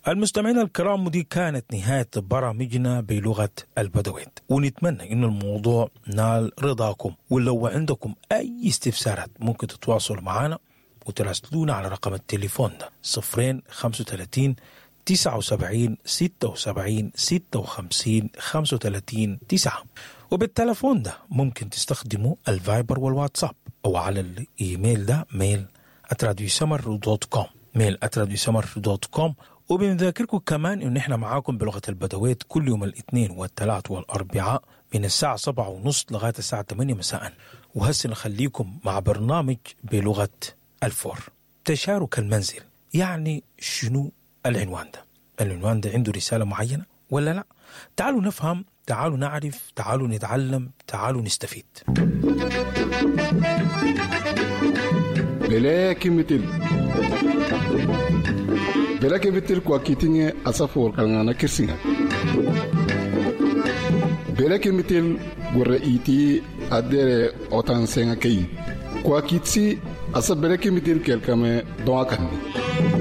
المستمعين الكرام، ودي كانت نهاية برامجنا بلغة البدويت، ونتمنى إنه الموضوع نال رضاكم. ولو عندكم أي استفسارات ممكن تتواصلوا معنا وتراسلونا على رقم التليفون ده: 0 35 79 76 56 35 9. وبالتلفون ده ممكن تستخدموا الفايبر والواتساب، أو على الإيميل ده mail@radiosmr.com، mail@radiosmr.com. وبنذاكركم كمان إن إحنا معاكم بلغة البدويت كل يوم الاثنين والثلاث والأربعاء من الساعة 7:30 لغاية الساعة 8 مساء. وهسه نخليكم مع برنامج بلغة الفور، تشارك المنزل. يعني شنو العنوان ده؟ العنوان ده عنده رسالة معينة ولا لا؟ تعالوا نفهم، تعالوا نعرف، تعالوا نتعلم، تعالوا نستفيد. Bele kimitil bele kimitil kwa kitinge asafo kalngana kirsinga bele kimitil gore iti adere otan senga kei kwa kitsi asa bele kimitil kelkame doa kanni.